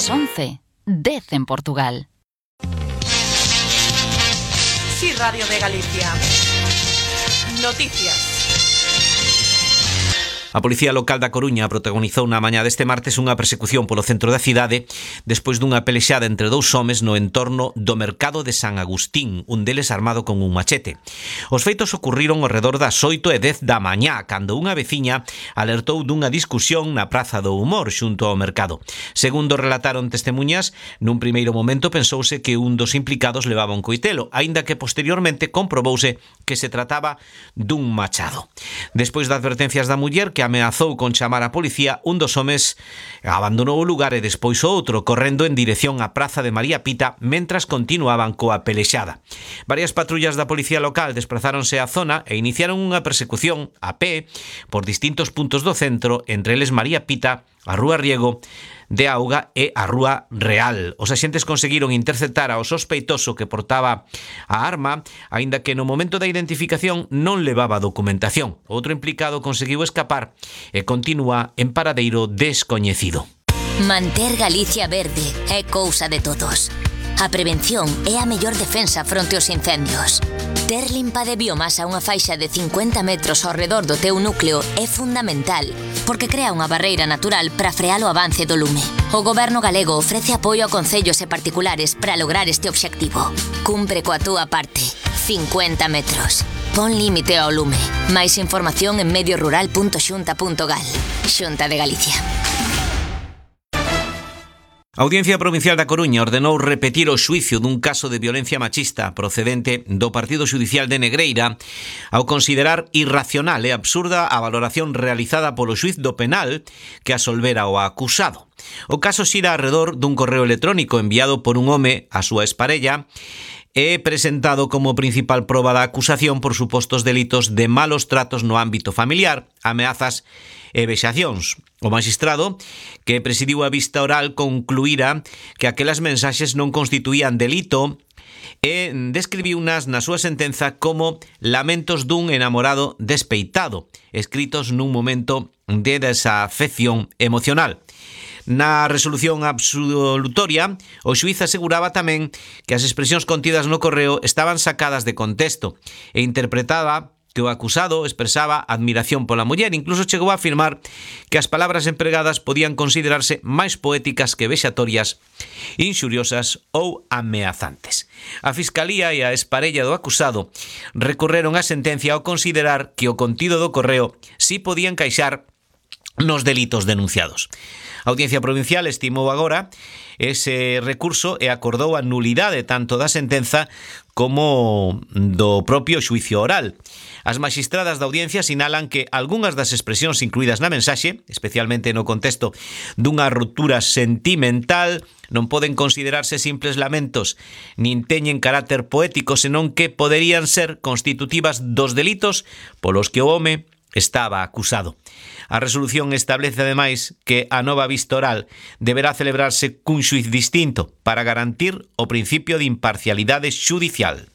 As 11, 10 en Portugal. Sí, Radio de Galicia. Noticias. A Policía Local da Coruña protagonizou na mañá deste martes unha persecución polo centro da cidade despois dunha pelexada entre dous homes no entorno do mercado de San Agustín, un deles armado con un machete. Os feitos ocurriron ao redor das 8:10 da mañá, cando unha veciña alertou dunha discusión na Praza do Humor xunto ao mercado. Segundo relataron testemuñas, nun primeiro momento pensouse que un dos implicados levaba un coitelo, aínda que posteriormente comprobouse que se trataba dun machado. Despois das advertencias da muller que ameazou con chamar a policía, un dos homes abandonou o lugar e despois o outro correndo en dirección á Praza de María Pita mentras continuaban coa pelexada. Varias patrullas da policía local desprazáronse á zona e iniciaron unha persecución a pé por distintos puntos do centro, entre eles María Pita, a Rúa Riego de Auga e a Rúa Real. Os axentes conseguiron interceptar ao sospeitoso que portaba a arma, aínda que no momento da identificación non levaba documentación. Outro implicado conseguiu escapar e continúa en paradeiro descoñecido. Manter Galicia verde é cousa de todos. A prevención é a mellor defensa fronte aos incendios. Ter limpa de biomasa unha faixa de 50 metros ao redor do teu núcleo é fundamental, porque crea unha barreira natural para frear o avance do lume. O Goberno galego ofrece apoio a concellos e particulares para lograr este obxectivo. Cumpre coa túa parte. 50 metros. Pon límite ao lume. Máis información en mediorural.xunta.gal. Xunta de Galicia. A Audiencia Provincial da Coruña ordenou repetir o xuicio dun caso de violencia machista procedente do Partido Xudicial de Negreira ao considerar irracional e absurda a valoración realizada polo xuiz do penal que absolvera o acusado. O caso xira arredor dun correo electrónico enviado por un home á súa exparella e presentado como principal proba da acusación por supostos delitos de malos tratos no ámbito familiar, ameazas e vexacións. O magistrado, que presidiu a vista oral, concluíra que aquelas mensaxes non constituían delito e describiunas na súa sentenza como lamentos dun enamorado despeitado, escritos nun momento de desafección emocional. Na resolución absolutoria, o xuíz aseguraba tamén que as expresións contidas no correo estaban sacadas de contexto e interpretaba que o acusado expresaba admiración pola muller, incluso chegou a afirmar que as palabras empregadas podían considerarse máis poéticas que vexatorias, inxuriosas ou ameazantes. A Fiscalía e a exparella do acusado recorreron a sentencia ao considerar que o contido do correo si podía encaixar nos delitos denunciados. A Audiencia Provincial estimou agora ese recurso e acordou a nulidade tanto da sentenza como do propio xuicio oral. As magistradas da audiencia sinalan que algunhas das expresións incluídas na mensaxe, especialmente no contexto dunha ruptura sentimental, non poden considerarse simples lamentos, nin teñen carácter poético, senón que poderían ser constitutivas dos delitos polos que o home estaba acusado. A resolución establece ademais que a nova vista oral deberá celebrarse cun xuiz distinto para garantir o principio de imparcialidade xudicial.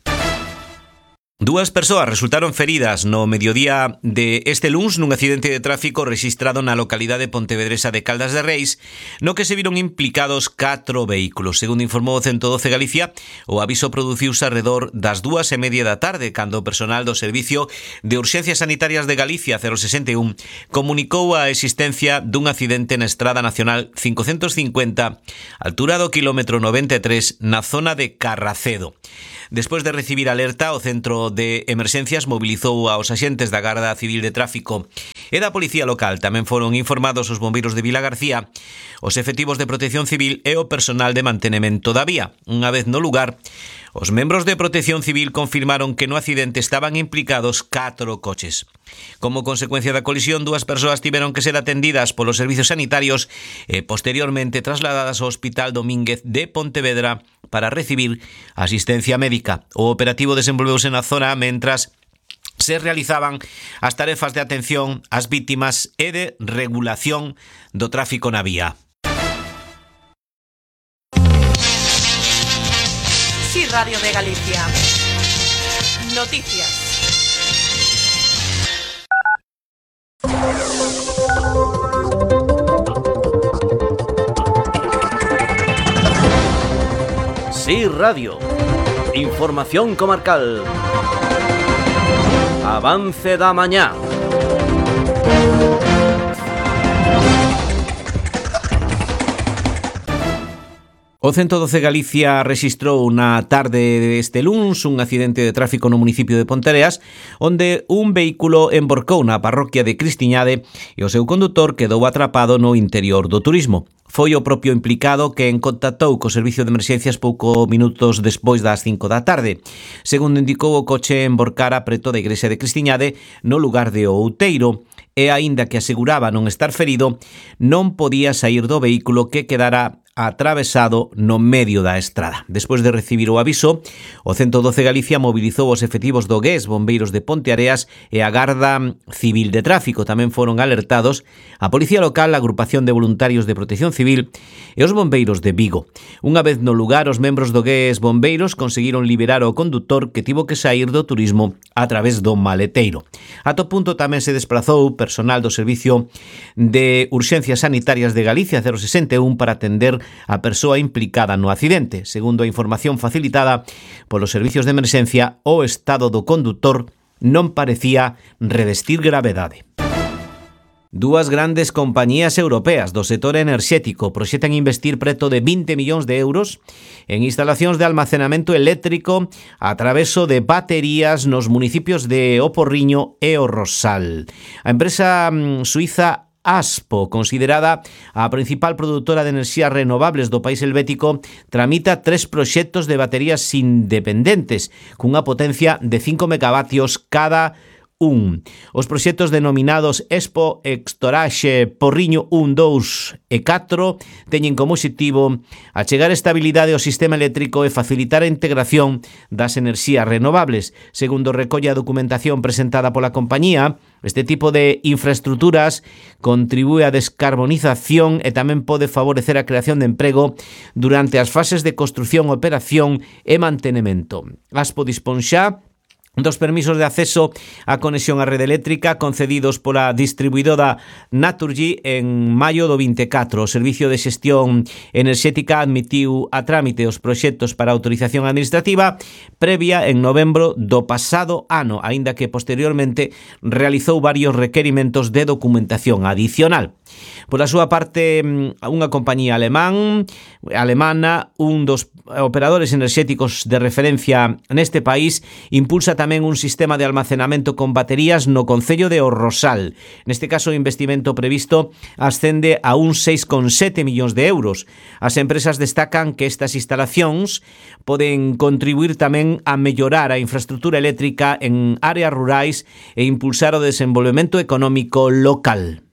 Dúas persoas resultaron feridas no mediodía de este luns nun accidente de tráfico rexistrado na localidade pontevedresa de Caldas de Reis, no que se viron implicados 4 vehículos. Segundo informou o 112 Galicia, o aviso produciuse arredor das 2:30 da tarde, cando o personal do Servicio de Urxencias Sanitarias de Galicia 061 comunicou a existencia dun accidente na Estrada Nacional 550, altura do quilómetro 93, na zona de Carracedo. Despois de recibir alerta, o Centro de Emerxencias mobilizou aos axentes da Garda Civil de Tráfico e da Policía Local. Tamén foron informados os bombeiros de Vilagarcía, os efectivos de Protección Civil e o personal de mantemento da vía. Unha vez no lugar, os membros de Protección Civil confirmaron que no accidente estaban implicados 4 coches. Como consecuencia da colisión, 2 persoas tiveron que ser atendidas polos servizos sanitarios e posteriormente trasladadas ao Hospital Domínguez de Pontevedra para recibir asistencia médica. O operativo desenvolveuse na zona mentras se realizaban as tarefas de atención ás vítimas e de regulación do tráfico na vía. Sí, Radio de Galicia. Noticias. Sí Radio. Información comarcal. Avance da mañá. O 112 Galicia rexistrou na tarde deste luns un accidente de tráfico no municipio de Ponteareas, onde un vehículo emborcou na parroquia de Cristiñade e o seu condutor quedou atrapado no interior do turismo. Foi o propio implicado quen contactou co servicio de emerxencias pouco minutos despois das 5 da tarde. Segundo indicou, o coche emborcara preto da igrexa de Cristiñade no lugar de Outeiro e, aínda que aseguraba non estar ferido, non podía saír do vehículo que quedara atravesado no medio da estrada. Despois de recibir o aviso, o 112 Galicia mobilizou os efectivos do GES, bombeiros de Ponteareas e a Garda Civil de Tráfico. Tamén foron alertados a Policía Local, a Agrupación de Voluntarios de Protección Civil e os bombeiros de Vigo. Unha vez no lugar, os membros do GES bombeiros conseguiron liberar o condutor que tivo que saír do turismo a través do maleteiro. Ato punto tamén se desplazou personal do Servicio de Urxencias Sanitarias de Galicia 061 para atender a persoa implicada no accidente. Segundo a información facilitada polos servicios de emerxencia, o estado do condutor non parecía revestir gravedade. Dúas grandes compañías europeas do sector enerxético proxectan investir preto de 20 millóns de euros en instalacións de almacenamento eléctrico a traveso de baterías nos municipios de O Porriño e O Rosal. A empresa suiza ASPO, considerada a principal produtora de enerxías renovables do país helvético, tramita 3 proxectos de baterías independentes cunha potencia de 5 megavatios cada un. Os proxectos denominados Expo Storage Porriño 1, 2 e 4 teñen como obxectivo achegar estabilidade ao sistema eléctrico e facilitar a integración das enerxías renovables. Segundo recolle a documentación presentada pola compañía, este tipo de infraestructuras contribúe á descarbonización e tamén pode favorecer a creación de emprego durante as fases de construción, operación e mantenimento. ASPO dispón xa dos permisos de acceso á conexión á rede eléctrica concedidos pola distribuidora Naturgy en maio do 24. O Servicio de Xestión Enerxética admitiu a trámite os proxectos para autorización administrativa previa en novembro do pasado ano, aínda que posteriormente realizou varios requerimentos de documentación adicional. Por a súa parte, unha compañía alemana, un dos operadores enerxéticos de referencia neste país, impulsa tamén un sistema de almacenamento con baterías no concello de O Rosal. Neste caso, o investimento previsto ascende a uns 6,7 millóns de euros. As empresas destacan que estas instalacións poden contribuir tamén a mellorar a infraestructura eléctrica en áreas rurais e impulsar o desenvolvemento económico local.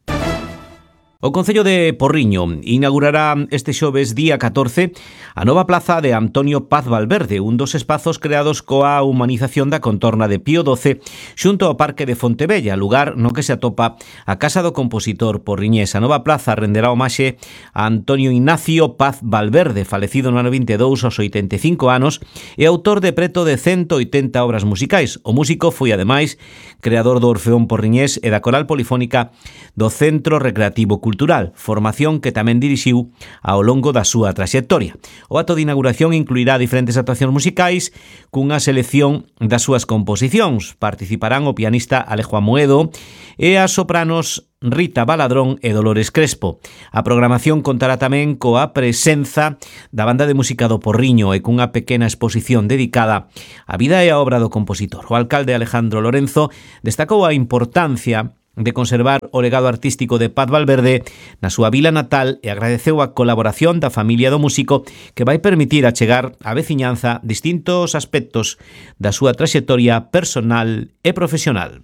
O Concello de Porriño inaugurará este xoves día 14 a nova plaza de Antonio Paz Valverde, un dos espazos creados coa humanización da contorna de Pío XII xunto ao Parque de Fontebella, lugar no que se atopa a Casa do Compositor porriñés. A nova plaza renderá homaxe a Antonio Ignacio Paz Valverde, falecido no ano 22 aos 85 anos e autor de preto de 180 obras musicais. O músico foi, ademais, creador do Orfeón porriñés e da Coral Polifónica do Centro Recreativo Cultural, formación que tamén dirixiu ao longo da súa traxectoria. O acto de inauguración incluirá diferentes actuacións musicais cunha selección das súas composicións. Participarán o pianista Alejo Amoedo e as sopranos Rita Baladrón e Dolores Crespo. A programación contará tamén coa presenza da Banda de Música do Porriño e cunha pequena exposición dedicada á vida e á obra do compositor. O alcalde Alejandro Lorenzo destacou a importancia de conservar o legado artístico de Paz Valverde na súa vila natal e agradeceu a colaboración da familia do músico que vai permitir achegar á veciñanza distintos aspectos da súa traxectoria personal e profesional.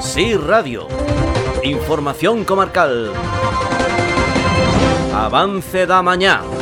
Sí Radio. Información comarcal. Avance da mañá.